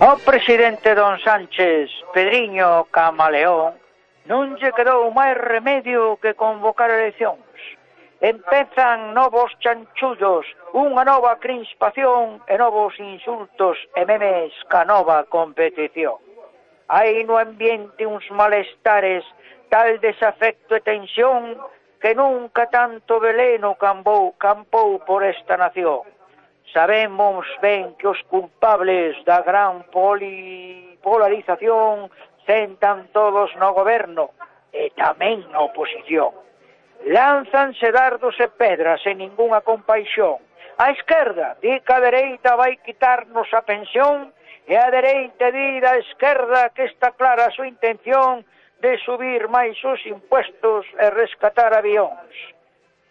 Ao presidente don Sánchez, Pedriño Camaleón, non lle quedou máis remedio que convocar eleccións. Empezan novos chanchullos, unha nova crispación e novos insultos e memes ca nova competición. Hai no ambiente uns malestares, tal desafecto e tensión, que nunca tanto veleno campou por esta nación. Sabemos ben que os culpables da gran polarización sentan todos no goberno e tamén na oposición. Lánzanse dardos e pedras sen ningunha compaixón. A esquerda di que a dereita vai quitarnos a pensión e a dereita di da esquerda que está clara a súa intención de subir máis os impuestos e rescatar avións.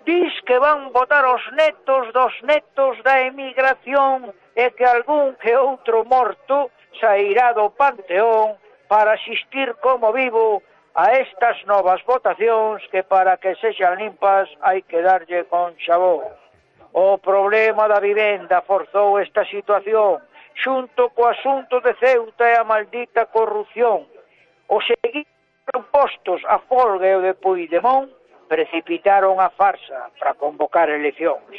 Dis que van votar os netos dos netos da emigración e que algún que outro morto sairá do panteón para asistir como vivo a estas novas votacións que para que sexan limpas hai que darlle con xabón. O problema da vivenda forzou esta situación xunto co asunto de Ceuta e a maldita corrupción. Os seguidos postos a folga e o de Puigdemont precipitaron a farsa para convocar eleccións,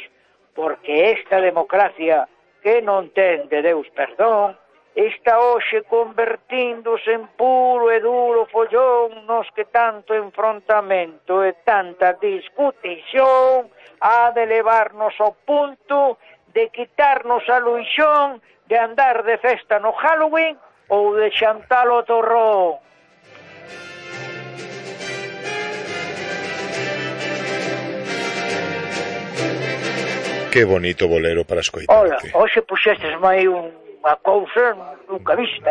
porque esta democracia que non ten de Deus perdón está hoxe convertíndose en puro e duro follón nos que tanto enfrontamento e tanta discutición ha de levarnos ao punto de quitarnos a luixón de andar de festa no Halloween ou de xantar o torrón. Que bonito bolero para escoitarte. Ola, hoxe puxestes máis unha cousa nunca vista,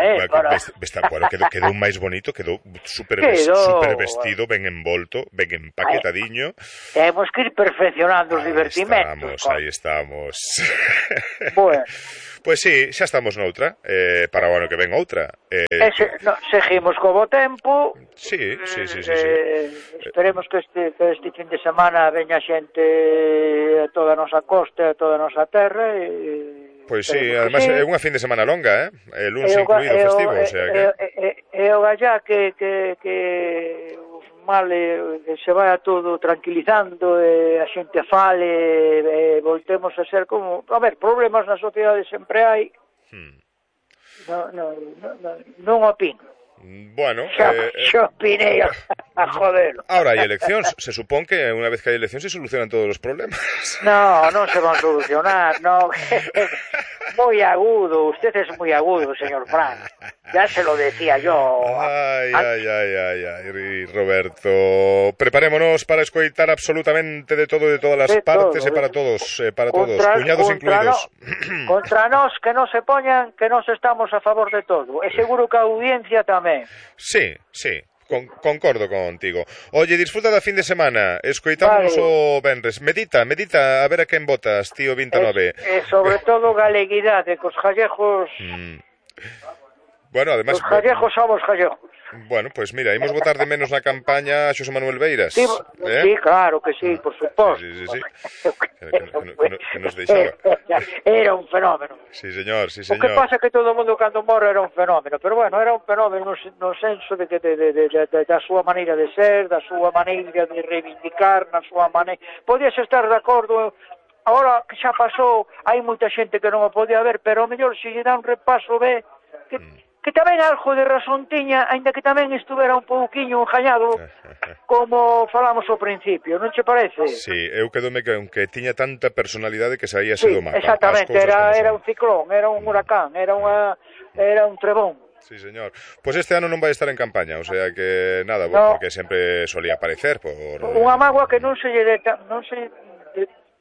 Bueno, quedou máis bonito, quedou super vestido, ben envolto, ben empaquetadiño. Temos que ir perfeccionando os divertimentos. Aí estamos. Bueno. Pois sí, xa estamos noutra, para o ano que ven outra. Seguimos co bo tempo. Sí. Esperemos que este fin de semana veña xente a toda a nosa costa, a toda a nosa terra. Pois sí, además é unha fin de semana longa, el lunes incluído festivo, o sea que... E o gallá que os males se vai todo tranquilizando e a xente fale e voltemos a ser como... A ver, problemas na sociedade sempre hai. Non opino. Bueno... Xa opinei a joder. Ahora hai eleccións, se supón que unha vez que hai eleccións se solucionan todos os problemas. Non se van a solucionar, non. Moi agudo, usted es moi agudo, señor Frank. Ya se lo decía yo. Ay, Roberto. Preparémonos para escoitar absolutamente de todo, de todas as partes, e para todos, cuñados incluídos. Contra nós que non se poñan, que nós estamos a favor de todo. E seguro que a audiencia tamén. Sí. Concordo contigo. Oye, disfruta da fin de semana. Escoitamos o venres. Medita, a ver a quen votas, tío 29. Sobre todo galeguidade, cos gallegos... Bueno, además... Os gallegos somos gallegos. Bueno, pues mira, imos votar de menos na campaña a Xosé Manuel Beiras. Sí, claro que sí, por suposto. Sí. Que nos deixaba. Era un fenómeno. Sí, señor. O que pasa é que todo o mundo cando morre era un fenómeno, pero bueno, era un fenómeno no senso de que da súa maneira de ser, da súa maneira de reivindicar, na súa maneira... Podías estar de acordo... Agora que xa pasou, hai moita xente que non o podía ver, pero ao mellor se lle dá un repaso ve que tamén algo de razón tiña, aínda que tamén estuvera un pouquiño engañado, como falamos ao principio, non che parece? Sí, eu quedome que tiña tanta personalidade que saíase do mapa. Exactamente, era un ciclón, era un huracán, era un trebón. Sí, señor. Pois este ano non vai estar en campaña, o sea que nada, porque sempre solía aparecer por... Unha mágoa que non se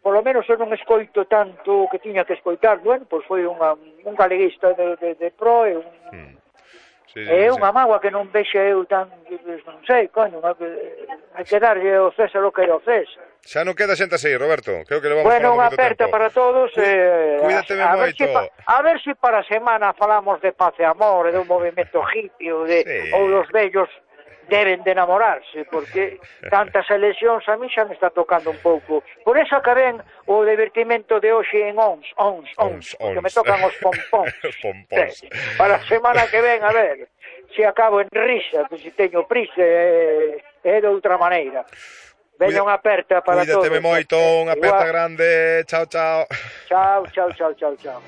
por lo menos eu non escoito tanto que tiña que escoitar, bueno, pois foi un galeguista de pro e unha mágoa que non vexe eu tan, non sei, coño, hai que darlle o César o que era o César. Xa non queda xente así, Roberto, creo que levamos bueno, unha aperta tempo. Para todos, cuídate moito. A ver si para a semana falamos de paz e amor, e do movimento hippie, ou dos vellos deben de enamorarse, porque tantas eleccións a mí xa me está tocando un pouco. Por eso acabén o divertimento de hoxe en ons, porque me tocan os pompóns. Para a semana que ven, a ver, se acabo en risa, que se teño prisa, é de outra maneira. Veña unha aperta para todos. Cuídateme moito, unha aperta grande. Chao, chao. Chao, chao, chao, chao, chao.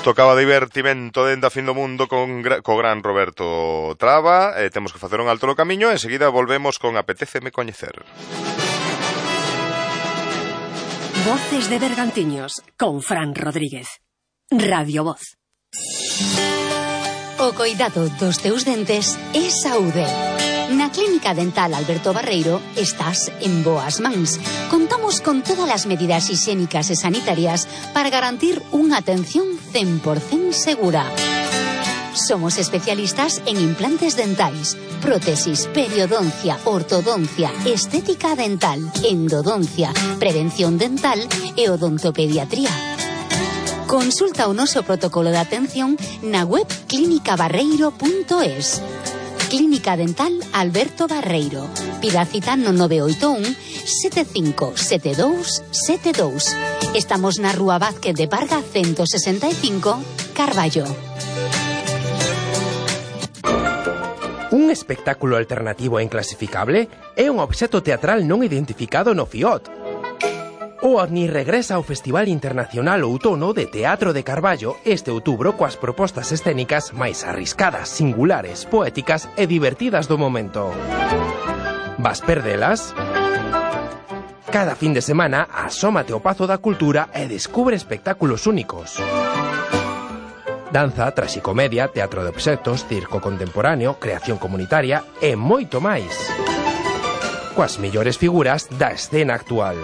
Tocaba divertimento dende a fin do mundo co gran Roberto Traba. Temos que facer un alto no camiño. Enseguida volvemos con Apetéceme Coñecer. Voces de Bergantiños con Fran Rodríguez. Radio Voz. O coidado dos teus dentes é saúde. Na Clínica Dental Alberto Barreiro estás en boas mans. Contamos con todas as medidas higiénicas e sanitarias para garantir unha atención 100% segura. Somos especialistas en implantes dentais, prótesis, periodoncia, ortodoncia, estética dental, endodoncia, prevención dental e odontopediatría. Consulta o noso protocolo de atención na web clinicabarreiro.es. Clínica Dental Alberto Barreiro. Pida cita no 981 757272. Estamos na Rúa Vázquez de Parga 165, Carballo. Un espectáculo alternativo e inclasificable é un obxecto teatral non identificado no FIOT. O OVNI regresa ao Festival Internacional Outono de Teatro de Carballo este outubro coas propostas escénicas máis arriscadas, singulares, poéticas e divertidas do momento. Vas perdelas? Cada fin de semana asómate ao Pazo da Cultura e descubre espectáculos únicos. Danza, traxicomedia, teatro de obxectos, circo contemporáneo, creación comunitaria e moito máis. Coas mellores figuras da escena actual.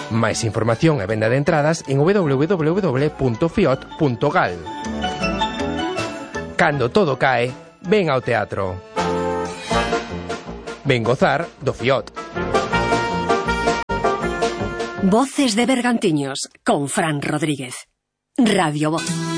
Máis información e venda de entradas en www.fiot.gal. Cando todo cae, ven ao teatro. Ven gozar do FIOT. Voces de Bergantiños con Fran Rodríguez. Radio Voz.